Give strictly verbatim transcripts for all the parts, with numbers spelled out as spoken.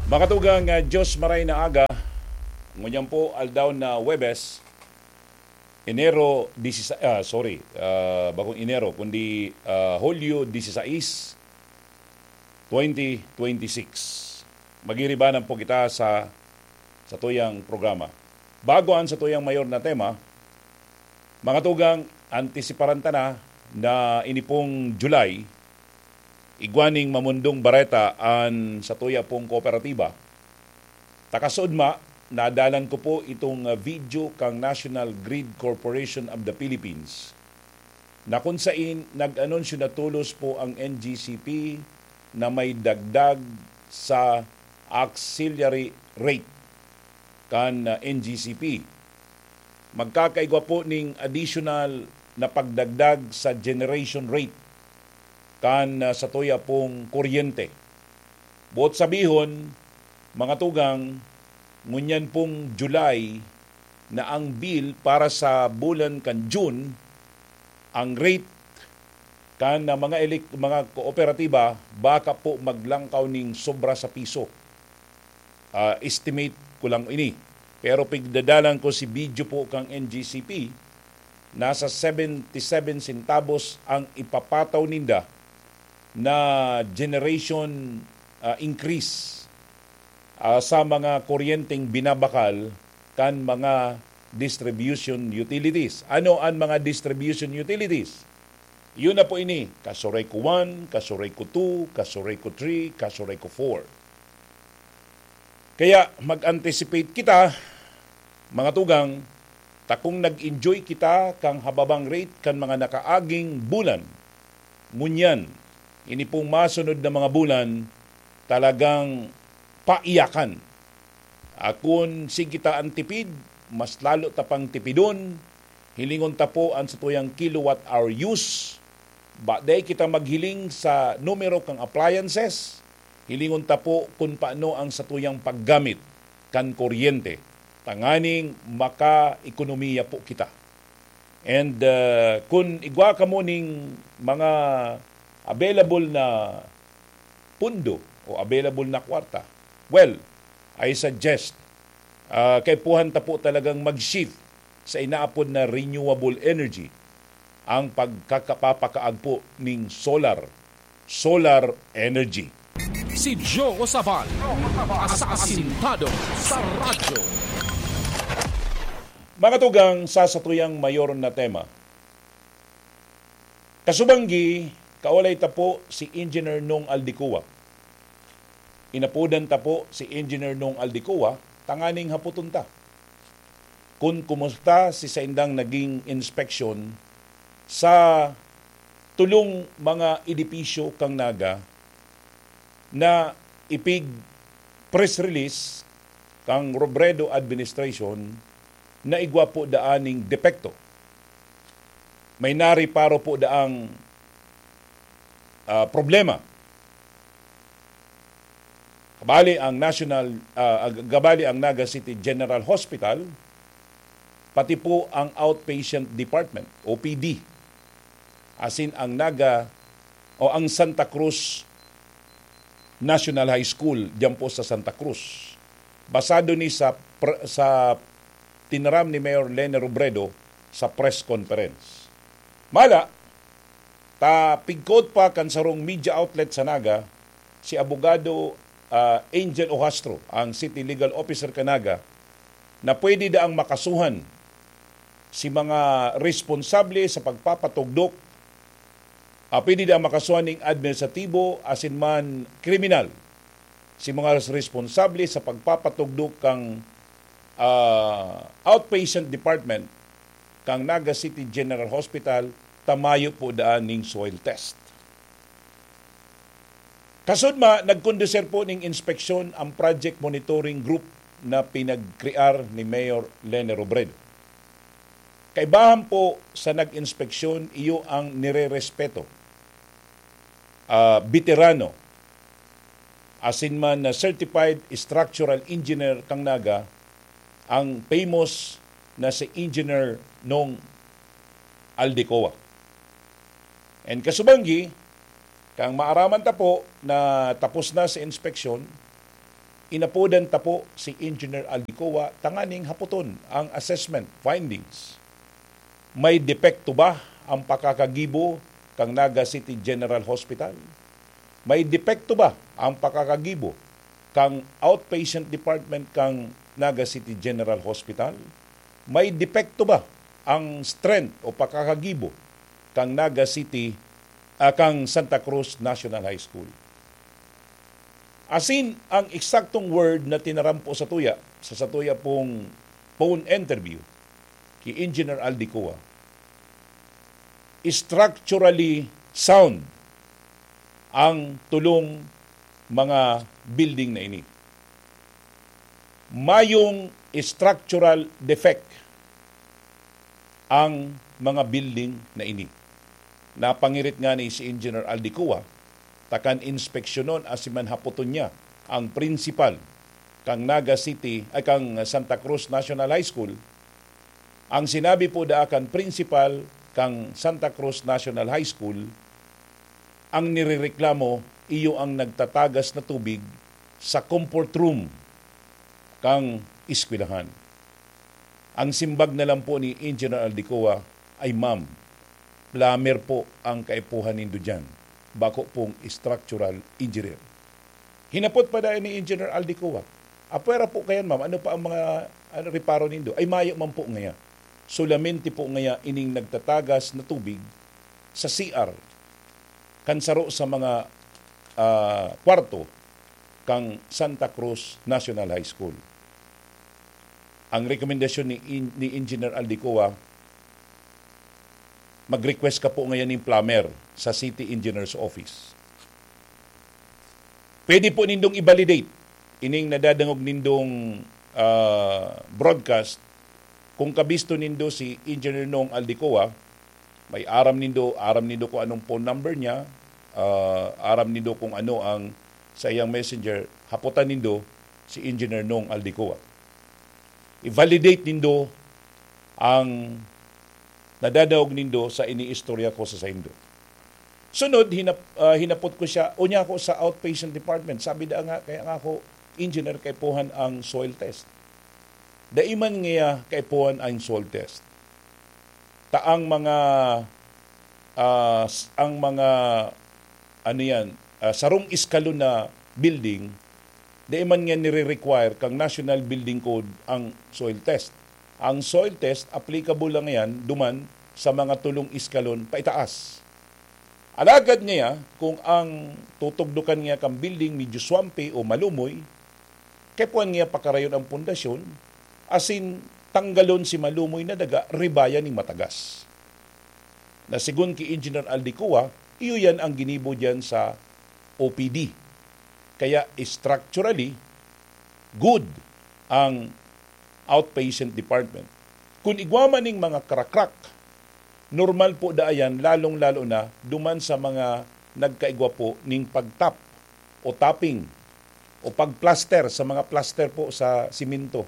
Mga tugang, ah, Diyos maray na aga. Ngunyan po, aldaw na Huwebes, Enero disisays, ah, sorry, ah, bakong Enero, kundi, ah, Hulyo disisais, twenty twenty-six. Magiribanan po kita sa, sa tuyang programa. Bago ang sa tuyang mayor na tema, mga tugang, antisiparan ta na na ini pong July, igwa ning mamundong bareta an satuya pong kooperatiba. Takasudma, nadalan ko po itong, ah, video kang National Grid Corporation of the Philippines, na kun sain nag-anunsyo na tolos po ang N G C P na may dagdag sa auxiliary rate kan, ah, N G C P. Magkakaigwa po ning additional na pagdagdag sa generation rate kan, ah, satuya pong kuryente. Boot sabihon, mga tugang, ngunyan pong July na ang bill para sa bulan kan June, ang rate kan, ah, mga elek-, mga kooperatiba baka po maglangkaw ning sobra sa piso. Ah, estimate ko lang ini. Pero pigdadalan ko si video po kang N G C P, nasa seventy-seven centavos ang ipapataw ninda na generation, ah, increase, ah, sa mga kuryenteng binabakal kan mga distribution utilities. Ano ang mga distribution utilities? Yun na po ini, Casureco one, Casureco two, Casureco three, Casureco four. Kaya mag-anticipate kita, mga tugang, takong nag-enjoy kita kan hababang rate kan mga nakaaging bulan. Ngunyan, ini pong masunod na mga bulan, talagang paiyakan. Akon sige ta an tipid, mas lalo ta pang tipidon. Hilingon ta po an satuyang kilowatt hour use. Ba, dai kita maghiling sa numero kan appliances. Hilingon ta po kun paano ang satuyang paggamit kan kuryente, tanganing makaekonomiya po kita. And, uh, kun igwa kamo ning mga available na pundo o available na kwarta, well, I suggest, ah, kaipuhan ta po talagang mag-shift sa inaapod na renewable energy, ang pagkakapapakaagpo ning solar, solar energy. Si Joe Sabal, asasintado sa radyo. Mga tugang, sa satuyang mayor na tema, kasubanggi, kaulay ta po si Engineer Nong Aldecoa. Inapodan ta po si Engineer Nong Aldecoa, tanganing hapoton ta kun kumusta si saindang naging inspeksyon sa tulong mga edipisyo kang Naga na ipig press release kang Robredo administration na igwa po daan ning depekto. May nariparo po daang, ah, problema. Kabali ang National, ah, ag-, kabali ang Naga City General Hospital, pati po ang Outpatient Department, O P D, asin ang Naga o ang Santa Cruz National High School diyan po sa Santa Cruz. Basado ni sa pr-, sa tinaram ni Mayor Leni Robredo sa press conference. Mala, ta pigkod pa kan sarong media outlet sa Naga, si Abogado, ah, Angel Ojastro, ang City Legal Officer kan Naga, na pwede daang makasuhan si mga responsable sa pagpapatugdok, ah, pwede daang makasuhan ning administratibo asin man kriminal si mga responsable sa pagpapatugdok kang, ah, outpatient department kang Naga City General Hospital, ta mayo po daan ning soil test. Kasudma, nagkonduser po ning inspeksyon ang Project Monitoring Group na pinagkrear ni Mayor Leni Robredo. Kaibahan po sa nag-inspeksyon, iyo ang nirerespeto, ah, beterano, asin man na certified structural engineer kang Naga, ang famous na si Engineer Nong Aldecoa. And kasubanggi, kang maaraman ta po na tapos na sa inspeksyon, Inapodan ta po si Engineer Aldicoa tanganing hapoton ang assessment findings. May depekto ba ang pakakagibo kan Naga City General Hospital? May depekto ba ang pakakagibo kan outpatient department kan Naga City General Hospital? May depekto ba ang strength o pakakagibo kan Naga City, ah, kan Santa Cruz National High School? Asin ang eksaktong word na tinaram po sa tuya, sa satuya pong phone interview ki Engineer Aldicoa, structurally sound ang tulong mga building na ini. Mayong structural defect ang mga building na ini. Napangirit nga ni si Engineer Aldicoa, takan inspeksyonon asin man hapoton niya ang principal kang Naga City, ay, kang Santa Cruz National High School. Ang sinabi po daa kan principal kang Santa Cruz National High School, ang nirereklamo iyo ang nagtatagas na tubig sa comfort room kang eskwelahan. Ang simbag na lang po ni Engineer Aldicoa ay, "Ma'am, plumber po ang kaipuhan nindo diyan, bako pong structural engineer." Hinapot pa dai ni Engineer Aldicoa, "Apwera po kayan, ma'am, ano pa ang mga, ano, reparo nindo?" "Ay, mayo man po ngaya. Solamente po ngaya ining nagtatagas na tubig sa C R kan saro sa mga, ah, kwarto kang Santa Cruz National High School." Ang rekomendasyon ni In-, ni Engineer Aldicoa, "Mag-request ka po ngayon ning plumber sa City Engineer's Office." Pwede po nindong i-validate ining nadadangog nindong, ah, broadcast. Kung kabisto nindo si Engineer Nong Aldicoa, may aram nindo, aram nindo kung anong phone number niya, ah, aram nindo kung ano ang sa iyang messenger, hapotan nindo si Engineer Nong Aldicoa. I-validate nindo ang nadadaog nindo sa iniistorya ko sa saindo. Sunod, hinap-, ah, hinapot ko siya, unya ako sa outpatient department. Sabi da nga, kaya nga ako, "Engineer, kaipuhan ang soil test." Dai man ngaya kaipuhan ang soil test. Ta ang mga, ah, s-, ang mga, ano yan, ah, sarong eskalon na building, dai man nga nire-require kang National Building Code ang soil test. Ang soil test, applicable lang yan duman sa mga tulong eskalon paitaas. Alagad ngaya, kung ang tutugdokan ngaya kan building medyo swampy o malumoy, kaipuhan ngaya pakarayon ang pundasyon, asin tanggalon si malumoy na daga, ribayan ning matagas. Na sigon ki Engineer Aldicoa, iyo yan ang ginibo diyan sa O P D. Kaya structurally, good ang outpatient department. Kun igwa man ning mga crack-crack, normal po daa yan, lalong-lalo na duman sa mga nagkaigwa po ning pagtap o tapping o pagplaster sa mga plaster po sa simento.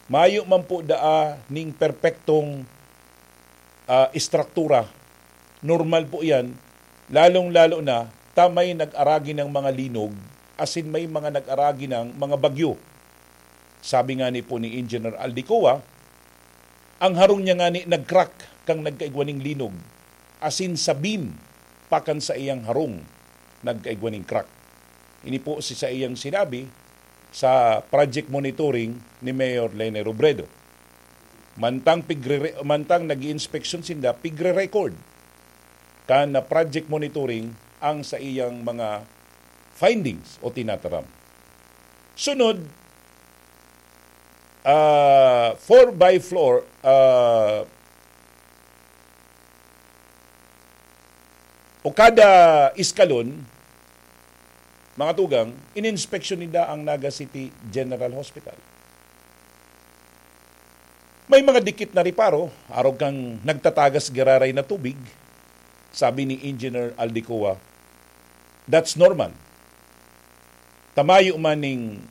Mayo man po daa ning perpektong, ah, estruktura. Normal po yan, lalong-lalo na ta may nag-aragi ng mga linog, asin may mga nag-aragi ng mga bagyo. Sabi nga ni po ni Engineer Aldicoa, ang harong niya ngani nag-crack kan nagkaigwa ning linog, asin sa beam pa kan saiyang harong nagkaigwa ning crack. Ini po si saiyang sinabi sa project monitoring ni Mayor Leni Robredo. Mantang pigre-, mantang nag-iinspeksyon sinda, pigre-record kan na project monitoring ang saiyang mga findings o tinataram. Sunod, ah, four by floor, ah, o kada eskalon, mga tugang, ininspeksyon ninda ang Naga City General Hospital. May mga dikit na reparo, arog kang nagtatagas giraray na tubig, sabi ni Engineer Aldicoa. That's normal. Ta mayo man ning,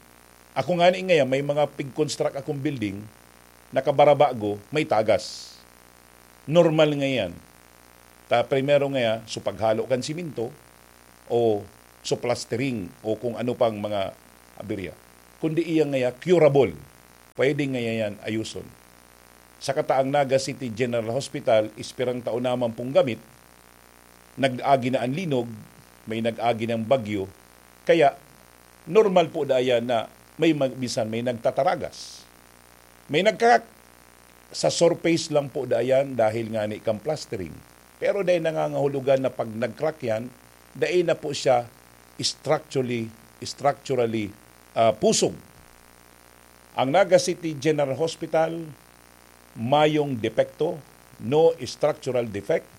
ako ngani ngaya, may mga pig-construct akong building, nakabarabago, may tagas. Normal nga yan. Ta primero ngaya, so paghalo kan simento, o so plastering, o kung ano pang mga aberya. kundi iya ngaya curable. Pwede ngaya yan ayuson. Sa kataang Naga City General Hospital, ispirang tao naman pong gamit, nag-agi na ang linog, may nag-agi ng bagyo, kaya normal po da yan na may mag-, minsan may nagtataragas. May nagka-, sa surface lang po da yan dahil nga ni kang plastering. Pero dahil nangangahulugan na pag nag-crack yan, dahil na po siya structurally, structurally ah, pusog. Ang Naga City General Hospital, mayong depekto, no structural defect.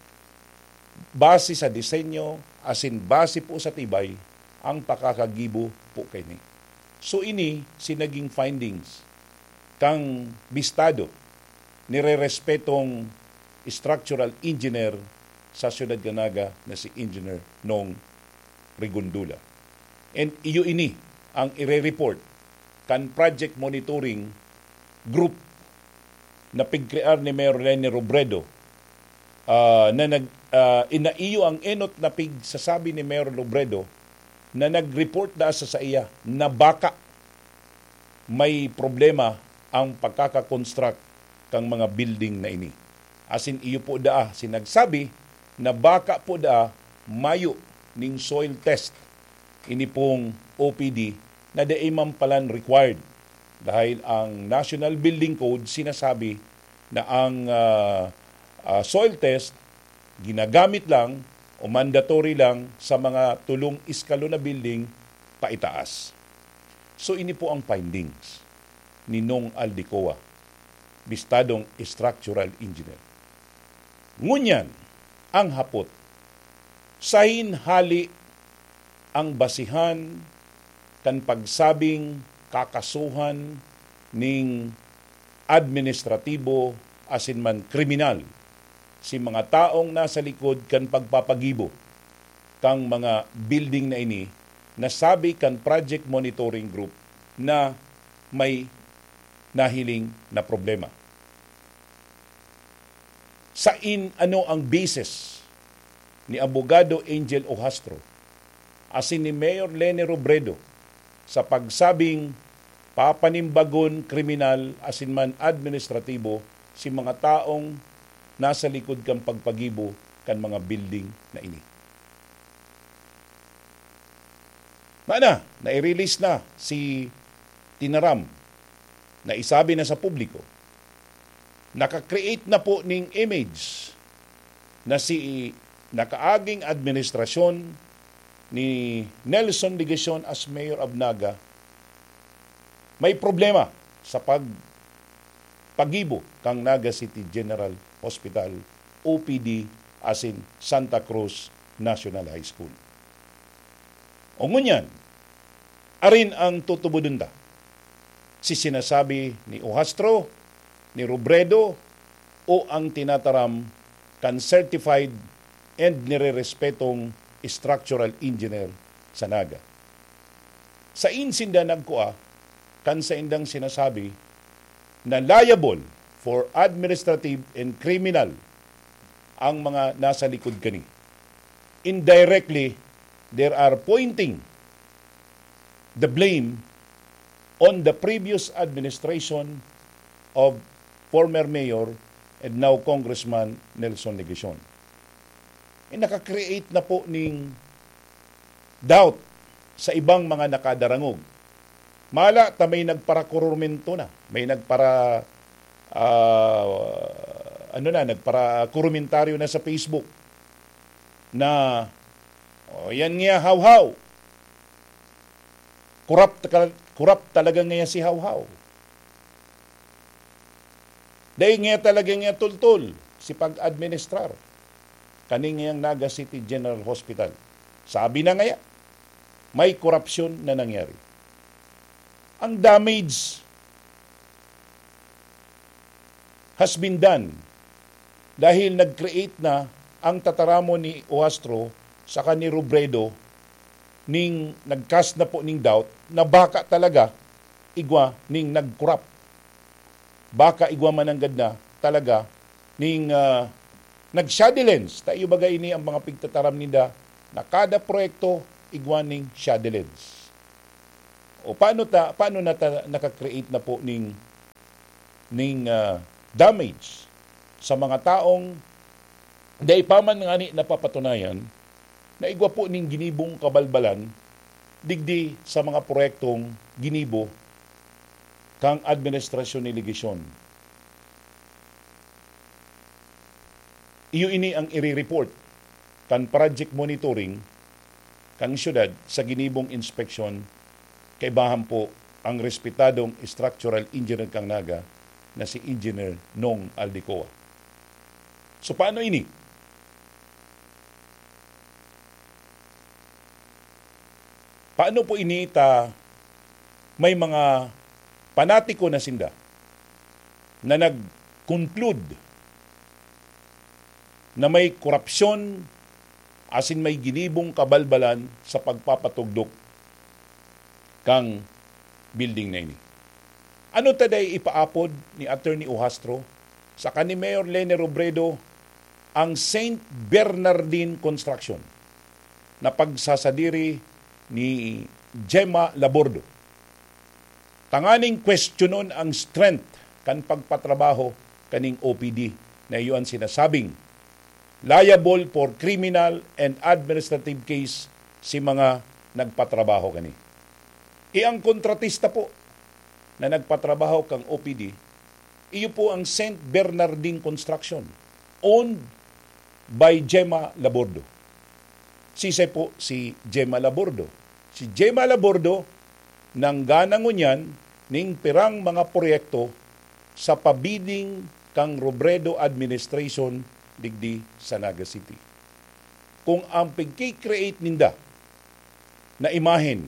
Base sa disenyo, asin base po sa tibay, ang pakakagibo po kaini. So ini si naging findings kang bistado, nirerespetong structural engineer sa siyudad kan Naga na si Engineer Nong Rigondula. And iyo ini ang ire-report kan project monitoring group na pigkrear ni Mayor Leni Robredo, ah, na nag-, ah, inaiyo ang enot na pigsasabi ni Mayor Robredo na nag-report da sa saiya na baka may problema ang pagkaka-construct kan mga building na ini. Asin iyo po daa sinagsabi na baka po daa mayo ning soil test ini pong O P D na dai man palan required, dahil ang National Building Code sinasabi na ang, ah, ah, soil test ginagamit lang o mandatory lang sa mga tulong eskalon na building paitaas. So, ini po ang findings ni Nong Aldecoa, bistadong structural engineer. Ngunyan, ang hapot, saen hale ang basihan kan pagsabing kakasuhan ning administratibo asin man kriminal si mga taong nasa likod kan pagpapagibo kan mga building na ini, na sabi kan Project Monitoring Group na may nahiling na problema. Saen, ano ang basis ni Abogado Angel Ojastro asin ni Mayor Leni Robredo sa pagsabing papanimbagon kriminal asin man administratibo si mga taong nasa likod kan pagpagibo kan mga building na ini? Mana, nai-release na si Tinaram na isabi na sa publiko, naka-create na po ning image na si nakaaging administrasyon ni Nelson Legacion as Mayor of Naga, may problema sa pag-, pagibo kan Naga City General Hospital, O P D, asin Santa Cruz National High School. O ngunyan, arin ang tutubodon ta? Si sinasabi ni Ojastro, ni Robredo, o ang tinataram kan certified and nirerespetong structural engineer sa Naga? Saen sinda nagkua kan saindang sinasabi na liable for administrative and criminal ang mga nasa likod kani? Indirectly, they are pointing the blame on the previous administration of former Mayor and now Congressman Nelson Legacion. Eh, naka-create na po ning doubt sa ibang mga nakadarangog. Mala ta may nagparakurumento na, may nagpara-, ah, ano na, nagparakurumentaryo na sa Facebook na, "Oh, yan nga, Hawhaw. Corrupt ka, corrupt talaga nga si Hawhaw. Dai nga talaga nga tultol si pag-administrar kaning ngayang Naga City General Hospital." Sabi na ngaya, may korupsyon na nangyari. Ang damage has been done dahil nag-create na ang tataramon ni Ojastro saka ni Robredo ning nag-cast na po ning doubt na baka talaga igwa ning nag-corrupt. Baka igwa mananggad na talaga ning, ah, nag-shoddy lens. Ta iyo baga ini ang mga pigtataram ninda na kada proyekto igwa ning shoddy lens. O paano ta, paano na ta naka-create na po ning, ning, ah, damage sa mga taong dai pa man ngani napapatunayan na igwa po ning ginibong kabalbalan digdi sa mga proyektong ginibo kan administrasyon ni Legacion? Iyo ini ang ire-report kan project monitoring kan syudad sa ginibong inspeksyon, kaibahan po ang respetadong structural engineer kan Naga na si Engineer Nong Aldecoa. So, paano ini? Paano po ini ta may mga panatiko na sinda na nag-conclude na may korupsyon asin may ginibong kabalbalan sa pagpapatugdok kang building na ini? Ano ta dai ipaapod ni Attorney Ohastro saka ni Mayor Leni Robredo ang Saint Bernardine Construction na pagsasadiri ni Gemma Labordo, tanganing kwestiyonon ang strength kan pagpatrabaho kaning O P D na iyo an sinasabing liable for criminal and administrative case si mga nagpatrabaho kani. E ang kontratista po na nagpatrabaho kang O P D, iyo po ang Saint Bernardine Construction, owned by Gemma Labordo. Sisay po si Gemma Labordo? Si Gemma Labordo nanggana ngunyan ning pirang mga proyekto sa pabiding kang Robredo administration digdi sa Naga City. Kung ang pagki-create ninda na imahen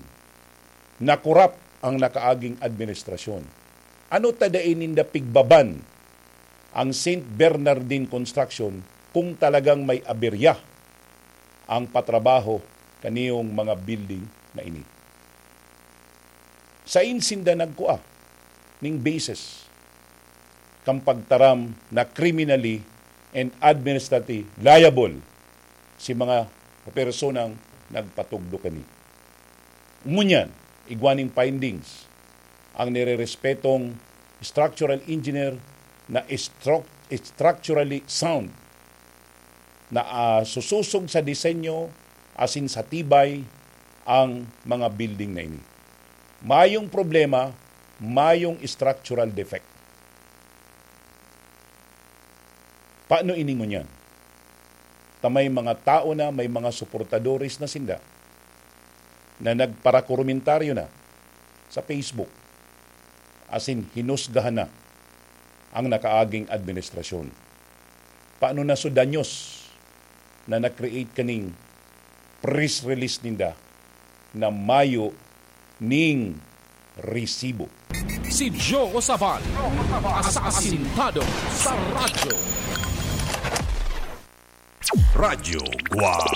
na korap ang nakaaging administrasyon, ano ta dai ninda pigbaban ang Saint Bernardine Construction kung talagang may aberya ang patrabaho kaniyong mga building na ini? Sain sinda nagkua ning basis kan pagtaram na criminally and administratively liable si mga personang nagpatugdok kani? Ngunyan, igwa ning findings ang nirerespetong structural engineer na stru-, structurally sound na, ah, susosog sa disenyo asin sa tibay ang mga building na ini. Mayong problema, mayong structural defect. Paano ini ngunyan? Ta may mga tao na, may mga suportadores na sinda na nagparakomentaryo na sa Facebook, asin hinusgahan na ang nakaaging administrasyon. Paano na so danyos na na-create kaning press release ninda na mayo ning resibo? Si Joe Sabal, asasintado sa radyo. Radyo Guwang.